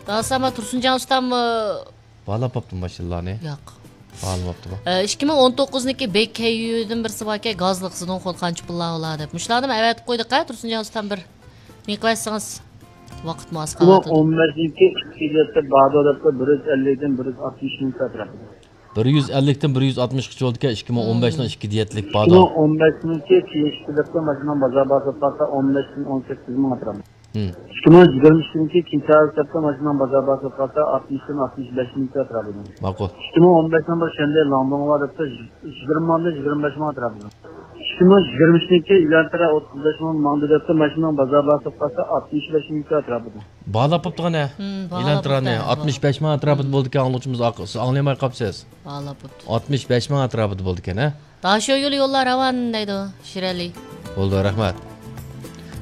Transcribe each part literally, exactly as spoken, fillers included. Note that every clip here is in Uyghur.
داساما تۇرسۇنجان ئۇستام، ئى، باھالاپ باپتۇ ماشىنىلارنى. ياق. باھالىماپتىمۇ؟ ئى، ئىككى مىڭ ئون توققۇزنىڭكى بېك كەييۇدىن بىرسى باركەن، گازلىق زىنون خول قانچە پۇللار بولا دەپ. مۇشۇلارنىمۇ ئەۋەتىپ قويدۇق ھە، تۇرسۇنجان ئۇستام، بىر نېقىۋەتسىڭىز. ۋاقىتمۇ ئاز قالىۋاتىدۇ. ئون بەشىنچى ئىككى دەپتە بادو دەپتە بىر يۈز ئەللىكتىن بىر يۈز ئاتمىش مىڭ ئەتراپىدا. بىر يۈز ئەللىكتىن بىر يۈز ئاتمىشقىچە بولىدىكەن، ئىككى مىڭ ئون بەشنىڭ ئىككى دېيەتلىك ئىككى باھادا. مىڭ ئون بەشنىڭكى كېيىنكى دەپتە ماشىنىنىڭ بازار باھاسى پاتتا ئون بەشتىن ئون سەككىز مىڭ ئەتراپىدا. ھىم. ئىككى مىڭ يىگىرمە ئۈچنىڭكى كېيىنكى دەپتە ماشىنىنىڭ بازار باھاسى پاتتا ئاتمىشتىن ئاتمىش بەش مىڭ ئەتراپىدا. ماقۇل. ئىككى مىڭ ئون بەشنىڭ بىر شەنبە لاڭدۇڭغا دەپتە يىگىرمە مىڭدىن يىگىرمە بەش مىڭ ئەتراپىدا. ئىككى مىڭ يىگىرمە ئۈچنىڭكى يۈەنتىرە ئوتتۇز بەش مىڭ ماڭدى دەپتۇ، ماشىنىنىڭ بازار باھاسى قالسا ئاتمىش بەش مىڭ ئەتراپىدا. باھالاپ بوپتۇ قېنى؟ ھىم، باھالاپ ئېلان تۇرانى بوپتۇ. ئاتمىش بەش مىڭ ئەتراپىدا بولىدىكەن، ئاڭلىغۇچىمىز، سىز ئاڭلىيالماي قاپسىز. باھالاپ بوپتۇ. ئاتمىش بەش مىڭ ئەتراپىدا بولىدىكەن ھە. داشۆ يولى يوللار راۋان دەيدۇ شىرئەلى. بولدى، رەھمەت.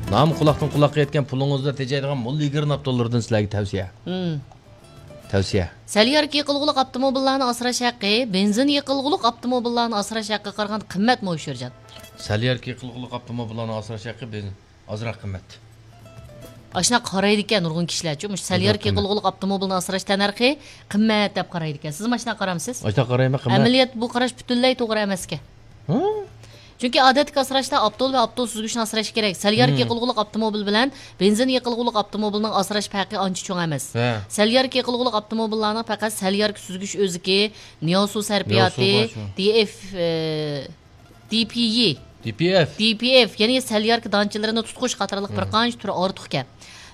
نام قۇلاقتىن قۇلاققا يەتكەن، پۇلىڭىزدا تېجەيدىغان موللا يىگىر ئاپتوللىرىدىن سىلەرگە تەۋسىيە. ھىم. تەۋسىيە. سەل ياركا يېقىلغۇلۇق ئاپتوموبىللارنى ئاسراش ھەققى بېنزىن يېقىلغۇلۇق ئاپتوموبىللارنى ئاسراش ھەققىگە قارىغاندا قىممەتمۇ، شىرجان؟ سەل ياركا يېقىلغۇلۇق ئاپتوموبىللارنى ئاسراش ھەققى بېنزىن ئازراق قىممەت. ئاشۇنداق قارايدىكەن نۇرغۇن كىشىلەرچۇ، مۇشۇ سەل ياركا يېقىلغۇلۇق ئاپتوموبىلنى ئاسراش تەننەرخى قىممەت دەپ قارايدىكەن. سىزمۇ ئاشۇنداق قارامسىز؟ ئاشۇنداق قارايمەن، قىممەت. ئەمەلىيەتتە بۇ قاراش پۈتۈنلەي توغرا ئەمەسكەن. ھە؟ چۈنكى ئادەتتىكى ئاسراشتا ئاپتول ۋە ئاپتول سۈزگۈچنى ئاسراش كېرەك. سەل ياركا يېقىلغۇلۇق ئاپتوموبىل بىلەن بېنزىن يېقىلغۇلۇق ئاپتوموبىلنىڭ ئاسراش پەرقى ئانچە چوڭ ئەمەس. ھە. سەل ياركا يېقىلغۇلۇق ئاپتوموبىللارنىڭ پەقەت سەل ياركا سۈزگۈچ ئۆزىكى، نياۋسۇ سەرپىياتى، نياۋسۇ بار شۇ. دى ئېف، ئى، دى پى يى. دى پى ئېف. دى پى ئېف، يەنى سەل ياركا دانچىلىرىنى تۇتقۇچ قاتارلىق بىر قانچە تۈرى ئارتۇقكەن.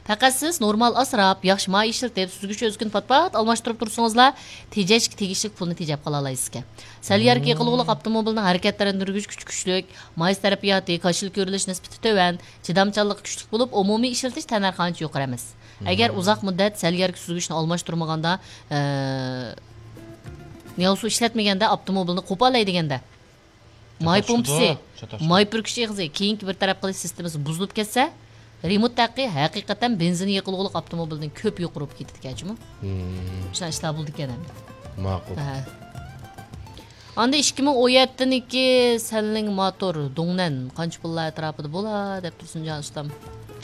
پەقەت سىز نورمال ئاسراپ، ياخشى ماي ئىشلىتىپ، سۈزگۈچ ئۆزىكىنى پات-پات ئالماشتۇرۇپ تۇرسىڭىزلا، تېجەشكە تېگىشلىك پۇلنى تېجەپ قالالايسىزكەن. سەل ياركا يېقىلغۇلۇق ئاپتوموبىلنىڭ ھەرىكەتلەندۈرگۈچ كۈچى كۈچلۈك، ماي سەرپىياتى، كاشىلا كۆرۈلۈش نىسبىتى تۆۋەن، چىدامچانلىقى كۈچلۈك بولۇپ، ئومۇمىي ئىشلىتىش تەننەرخى ئانچە يۇقىرى ئەمەس. ئەگەر ئۇزاق مۇددەت سەل ياركا سۈزگۈچنى ئالماشتۇرمىغاندا، ئە، نياۋسۇ ئىشلەتمىگەندە، ئاپتوموبىلنى قوپالاي دېگەندە، ماي پومپىسى، ماي پۈركۈش ئېغىزى، كېيىنكى بىر تەرەپ قىلىش سىستېمىسى بۇزۇلۇپ كەتسە، رېمونت ھەققى ھەقىقەتەن بېنزىن يېقىلغۇلۇق ئاپتوموبىلدىن كۆپ يۇقىرى بولۇپ كېتىدىكەن جۇمۇ. مم. شۇنداق ئىشلار بولىدىكەن ئەمدى. ماقۇل. ھە. ئاندىن ئىككى مىڭ ئون يەتتىنىڭكى سەنلىڭ ماتور، دۇڭنەن قانچە پۇللار ئەتراپىدا بولا دەپ تۇرسۇن جان ئۇستام.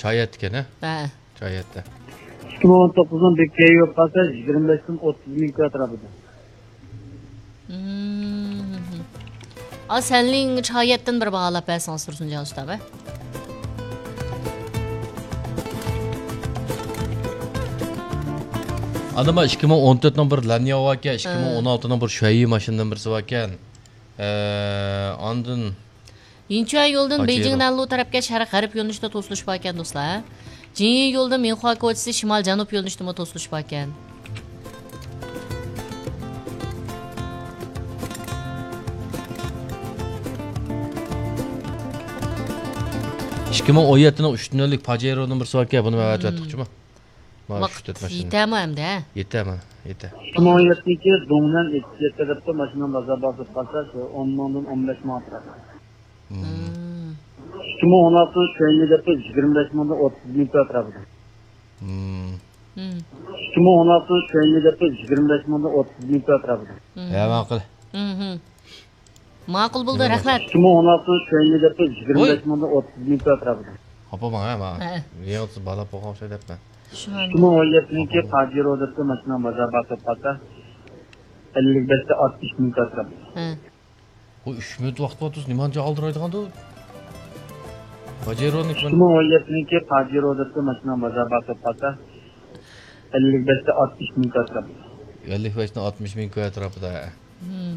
چايەتتىكەن ھە؟ ھە. شايەتتە. ئىككى مىڭ ئون توققۇزنىڭ بېككەيى بولۇپ قالسا، يىگىرمە بەشتىن ئوتتۇز مىڭ ئەتراپىدا. مم. ئا، سەنلىڭ شايەتتىن بىر باھالاپ بەرسىڭىز تۇرسۇنجان ئۇستا بە. ئاندىن بار ئىككى مىڭ ئون تۆتنىڭ بىر لەنياۋ باركەن، ئىككى مىڭ ئون ئالتىنىڭ بىر شۈەييى ماشىنىدىن بىرسى باركەن. ئە، ئاندىن يىنچۈەن يولىدىن بېيجىڭ نەنلۇ تەرەپكە شەرق غەرب يۆنىلىشىدە توسۇلۇش باركەن، دوستلار. جىنيى يولىدىن مىنخۇا كوچىسى شىمال جەنۇب يۆنىلىشىدىمۇ توسۇلۇش باركەن. ئىككى مىڭ ئون يەتتىنىڭ ئۈچ نۆللۈك پاجېرونىڭ بىرسى باركەن، بۇنى مەن ئەۋەتىۋەتتۇقچىمۇ. مانا شۇ تۆت ماشىنا. يېتەمۇ ئەمدى، ھە؟ يېتە، مانا، يېتە. ئىككى مىڭ ئون يەتتىنچى يىل دۇڭنەن ئېتىزى تەرەپتە ماشىنىنىڭ بازار باھاسى قالسا، شۇ ئون مىڭدىن ئون بەش مىڭ ئەتراپىدا. مم. مم. ئىككى مىڭ ئون ئالتىنچى يىل دەپتە يىگىرمە بەش مىڭدىن ئوتتۇز مىڭ ئەتراپىدا. مم. مم. ئىككى مىڭ ئون ئالتىنچى يىل دەپتە يىگىرمە بەش مىڭدىن ئوتتۇز مىڭ ئەتراپىدا. مم. ھە، ماقۇل. مم. ماقۇل بولدى، رەھمەت. ئىككى مىڭ ئون ئالتىنچى يىل دەپتە يىگىرمە بەش مىڭدىن ئوتتۇز مىڭ ئەتراپىدا. ئاپا، ماڭا، ماڭا. ھە. يېڭىتسا بالا بولغان ئوخشايدۇ دەپمەن. شۇ. ئىككى مىڭ ئون يەتتىنچى يىل پاجېرو دەپتە ماشىنىنىڭ بازار باھاسى قالسا، ئەللىك بەشتە ئاتمىش مىڭ ئەتراپىدا. ھە. بۇ ئۈچ مىنۇت ۋاقىت بار تۇرسا، نېمانچە ئالدىرايدىغاندۇ؟ پاجېرونى ئىككى مىڭ ئون يەتتىنچى يىل پاجېرو دەپتە ماشىنىنىڭ بازار باھاسى قالسا، ئەللىك بەشتە ئاتمىش مىڭ ئەتراپىدا. ئەللىك بەشتە ئاتمىش مىڭ ئەتراپىدا. مم.